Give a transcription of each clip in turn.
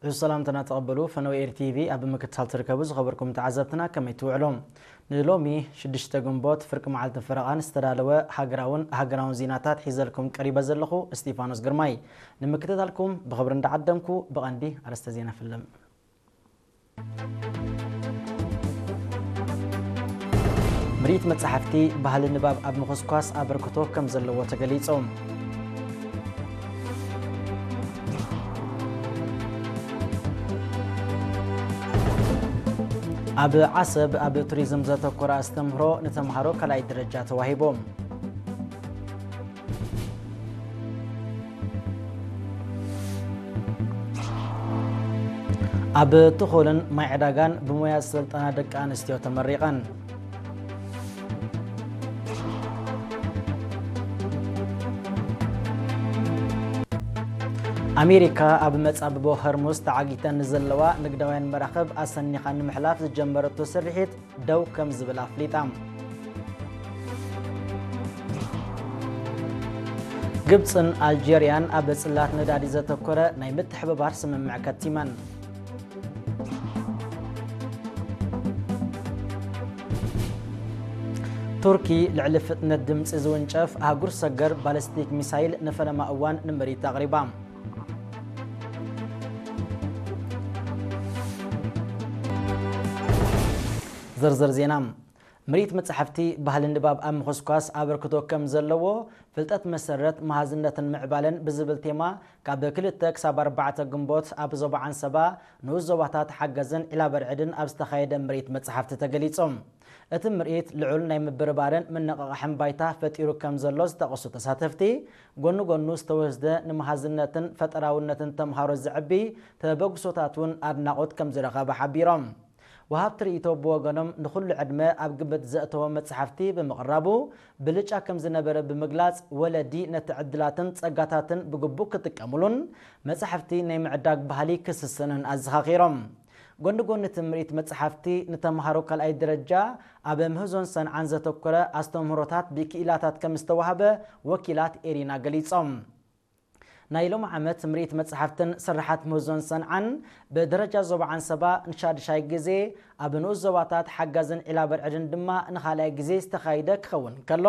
እዚ ሰላምታና ተቐበሉ። ፈነወ ኤር ቲቪ ኣብ ምክትታል ትርከቡ ዝኸበርኩም ተዓዘብትና ከመይ ትውዕሉ? ንሎሚ ሽዱሽተ ግንቦት ፍርቂ መዓልቲ ፈረቓን ዝተዳለወ ሃገራውን ሃገራውን ዜናታት ሒዘልኩም ቀሪበ ዘለኹ እስጢፋኖስ ግርማይ። ንምክትታልኩም ብኽብሪ እንዳዓደምኩ ብቐንዲ ኣርእስተ ዜና ፍልም። ምርኢት መጻሕፍቲ ባህሊ ንባብ ኣብ ምኹስኳስ ኣበርክቶ ከም ዘለዎ ተገሊጹ። ኣብ ዓሰብ ኣብ ቱሪዝም ዘተኮረ ኣስተምህሮ ንተምሃሮ ካልኣይ ደረጃ ተዋሂቡ። ኣብ ትኹልን ማይ ዕዳጋን ብሞያ ዝሰልጠና ደቂ ኣንስትዮ ተመሪቐን። ኣሜሪካ ኣብ መጻብቦ ሆርሙዝ ተዓጊተን ንዘለዋ ንግዳውያን መራኽብ ኣሰኒኻ ንምሕላፍ ዝጀመረቶ ስርሒት ደው ከም ዝብል ኣፍሊጣ። ግብጽን ኣልጀርያን ኣብ ጽላት ነዳዲ ዘተኮረ ናይ ምትሕብባር ስምምዕ ከቲመን። ቱርኪ ልዕሊ ፍጥነት ድምጺ ዝውንጨፍ ኣህጉር ሰገር ባሊስቲክ ሚሳይል ንፈለማ እዋን ንምርኢት ኣቕሪባ። ዝርዝር ዜና። ምርኢት መጻሕፍቲ ባህሊ ንባብ ኣብ ምኹስኳስ ኣበርክቶ ከም ዘለዎ፣ ፍልጠት መሰረት መሃዝነትን ምዕባለን ብዝብል ቴማ ካብ ክልተ ክሳብ ኣርባዕተ ግንቦት ኣብ ዞባ ዓንሰባ ንኡስ ዞባታት ሓገዝን ዒላበርዕድን ኣብ ዝተኻየደ ምርኢት መጻሕፍቲ ተገሊጹ። እቲ ምርኢት ልዑል ናይ ምብርባርን ምንቕቓሕን ባይታ ፈጢሩ ከም ዘሎ ዝጠቐሱ ተሳተፍቲ፣ ጎኒ ጎኑ ዝተወስደ ንመሃዝነትን ፈጠራውነትን ተምሃሮ ዘዕቢ ተበግሶታት እውን ኣድናቖት ከም ዝረኸበ ሓቢሮም። ወሃብቲ ርእይቶ ብወገኖም ንኹሉ ዕድመ ኣብ ግምት ዘእተወ መጽሓፍቲ ብምቕራቡ ብልጫ ከም ዝነበረ ብምግላጽ፣ ወለዲ ነቲ ዕድላትን ጸጋታትን ብግቡእ ክጥቀሙሉን መጻሕፍቲ ናይ ምዕዳግ ባህሊ ክስስንን ኣዘኻኺሮም። ጎኒ ጎኒ እቲ ምርኢት መጻሕፍቲ፣ ንተምሃሮ ካልኣይ ደረጃ ኣብ ምህዞን ሰንዓን ዘተኮረ ኣስተምህሮታት ብክኢላታት ከም ዝተዋህበ ወኪላት ኤሪና ገሊጾም። ናይ ሎሚ ዓመት ምርኢት መጻሕፍትን ስርሓት ምህዞን ሰንዓን ብደረጃ ዞባ ዓንሰባ ንሻድሻይ ግዜ፣ ኣብ ንኡስ ዞባታት ሓጋዝን ዒላበርዕድን ድማ ንኻልኣይ ግዜ ዝተኻየደ ክኸውን ከሎ፣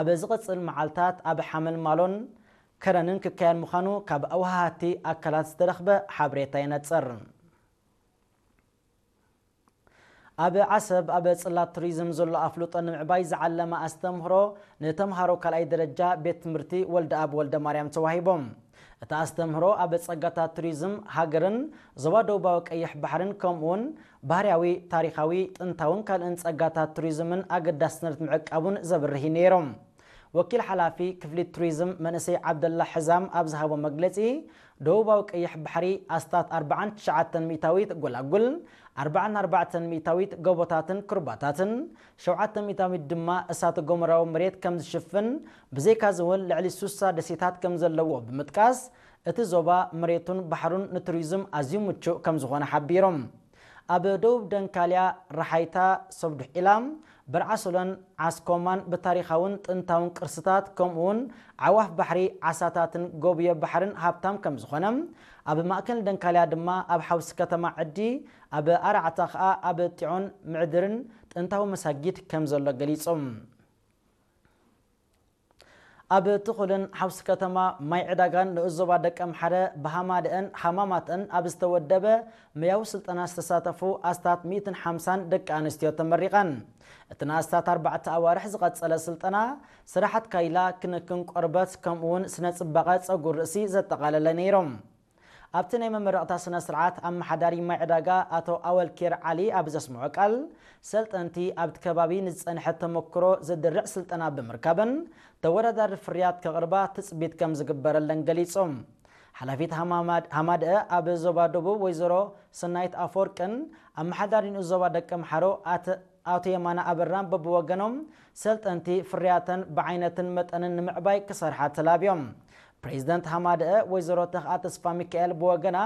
ኣብ ዝቕጽል መዓልታት ኣብ ሓመልማሎን ከረንን ክካየድ ምዃኑ ካብ ኣወሃሃድቲ ኣካላት ዝተረኽበ ሓበሬታ የነጽር። ኣብ ዓሰብ ኣብ ጽላት ቱሪዝም ዘሎ ኣፍልጦ ንምዕባይ ዝዓለመ ኣስተምህሮ ንተምሃሮ ካልኣይ ደረጃ ቤት ትምህርቲ ወልደኣብ ወልደማርያም ተዋሂቦም። እቲ ኣስተምህሮ ኣብ ጸጋታት ቱሪዝም ሃገርን ዞባ ደቡባዊ ቀይሕ ባሕርን ከምኡውን ባህርያዊ፣ ታሪኻዊ፣ ጥንታውን ካልእን ጸጋታት ቱሪዝምን ኣገዳስነት ምዕቃቡን ዘብርህ እዩ ነይሩ። ወኪል ሓላፊ ክፍሊ ቱሪዝም መንእሰይ ዓብደላ ሕዛም ኣብ ዝሃቦ መግለጺ፣ ደቡባዊ ቀይሕ ባሕሪ ኣስታት ኣርብዓን ትሽዓተን ሚእታዊት ጎላጉል፣ ኣርብዓን ኣርባዕተን ሚእታዊት ጎቦታትን ኩርባታትን፣ ሸውዓተ ሚእታዊት ድማ እሳተ ጎመራዊ መሬት ከም ዝሽፍን፣ ብዘይካዚ እውን ልዕሊ ሱሳ ደሴታት ከም ዘለዎ ብምጥቃስ፣ እቲ ዞባ መሬቱን ባሕሩን ንቱሪዝም ኣዝዩ ምቹእ ከም ዝኾነ ሓቢሮም። ኣብ ደቡብ ደንካልያ፣ ረሓይታ፣ ሰብዱሕ ኢላም፣ በርዓሶሎን ዓስኮማን ብታሪኻውን ጥንታውን ቅርስታት፣ ከምኡውን ዓዋፍ ባሕሪ፣ ዓሳታትን ጎብዮ ባሕርን ሃብታም ከም ዝኾነ፣ ኣብ ማእከል ደንካልያ ድማ ኣብ ሓውሲ ከተማ ዕዲ፣ ኣብ ኣርዓታ ኸኣ ኣብ ጢዖን ምዕድርን ጥንታዊ መሳጊድ ከም ዘሎ ገሊጾም። ኣብ ትኹልን ሓውሲ ከተማ ማይ ዕዳጋን ንኡስ ዞባ ደቀምሓረ ብሃማደአን ሃማማተን ኣብ ዝተወደበ መያዊ ስልጠና ዝተሳተፉ ኣስታት ሚእትን ሓምሳን ደቂ ኣንስትዮ ተመሪቐን። እቲ ንኣስታት ኣርባዕተ ኣዋርሕ ዝቐጸለ ስልጠና ስራሓት ካይላ፣ ክንክን ቆርበት ከምኡውን ስነ ጽባቐ ጸጉር ርእሲ ዘጠቓለለ ነይሮም። ኣብቲ ናይ መመረቕታ ስነ ስርዓት ኣመሓዳሪ ማይ ዕዳጋ ኣቶ ኣወልኬር ዓሊ ኣብ ዘስምዖ ቃል፣ ሰልጠንቲ ኣብቲ ከባቢ ንዝጸንሐ ተመክሮ ዘድርዕ ስልጠና ብምርካበን ተወዳዳሪ ፍርያት ከቕርባ ትጽቢት ከም ዝግበረለን ገሊጾም። ሓላፊት ሃማማድ-፣ ሃማደአ ኣብ ዞባ ደቡብ ወይዘሮ ሰናይት ኣፈወርቅን ኣመሓዳሪ ንኡስ ዞባ ደቀምሓረ ኣተ-፣ ኣቶ የማነ ኣበራን በብወገኖም ሰልጠንቲ ፍርያተን ብዓይነትን መጠንን ንምዕባይ ክሰርሓ ተላብዮም። ፕሬዚደንት ሃማደአ ወይዘሮ ተኽኣ ተስፋ ሚካኤል ብወገና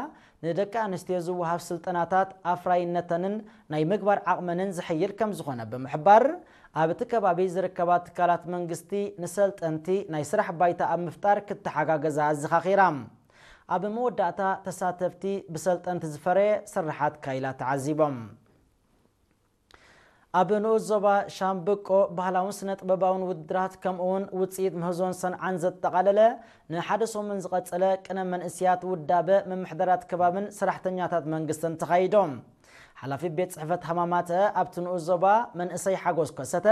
ንደቂ ኣንስትዮ ዝወሃብ ስልጠናታት ኣፍራይነተንን ናይ ምግባር ዓቕመንን ዝሕይል ከም ዝኾነ ብምሕባር፣ ኣብ እቲ ከባቢ ዝርከባ ትካላት መንግስቲ ንሰልጠንቲ ናይ ስራሕ ባይታ ኣብ ምፍጣር ክተሓጋገዛ ኣዘኻኺራ። ኣብ መወዳእታ ተሳተፍቲ ብሰልጠንቲ ዝፈረየ ስርሓት ካይላ ተዓዚቦም። ኣብ ንኡስ ዞባ ሻምብቆ ባህላውን ስነ ጥበባውን ውድድራት ከምኡውን ውፅኢት ምህዞን ሰንዓን ዘጠቓለለ ንሓደ ሰሙን ዝቐጸለ ቅነ መንእስያት ውዳበ ምምሕዳራት ከባብን ሰራሕተኛታት መንግስትን ተኻይዶም። ሓላፊ ቤት ጽሕፈት ሃማማተ ኣብቲ ንኡስ ዞባ መንእሰይ ሓጎስ ከሰተ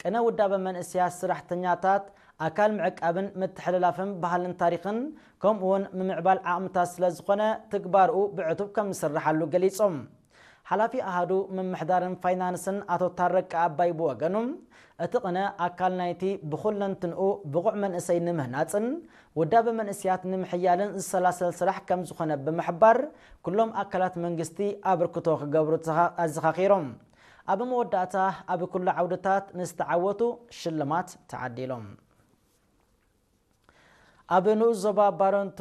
ቅነ ውዳበ መንእስያት ሰራሕተኛታት ኣካል ምዕቃብን ምትሕልላፍን ባህልን ታሪኽን ከምኡውን ምምዕባል ዓቕምታት ስለ ዝኾነ ትግባርኡ ብዕቱብ ከም ዝስርሓሉ ገሊጾም። ሓላፊ ኣሃዱ ምምሕዳርን ፋይናንስን ኣቶ ታረቀ ኣባይ ብወገኑ እቲ ቅነ ኣካል ናይቲ ብኹለንትንኡ ብቑዕ መንእሰይ ንምህናጽን ውዳበ መንእስያት ንምሕያልን ዝሰላሰል ስራሕ ከም ዝኾነ ብምሕባር ኩሎም ኣካላት መንግስቲ ኣበርክቶ ክገብሩ ተኻ- ኣዘኻኺሮም። ኣብ መወዳእታ ኣብ ኩሉ ዓውድታት ንዝተዓወቱ ሽልማት ተዓዲሎም። ኣብ ንኡስ ዞባ ባረንቱ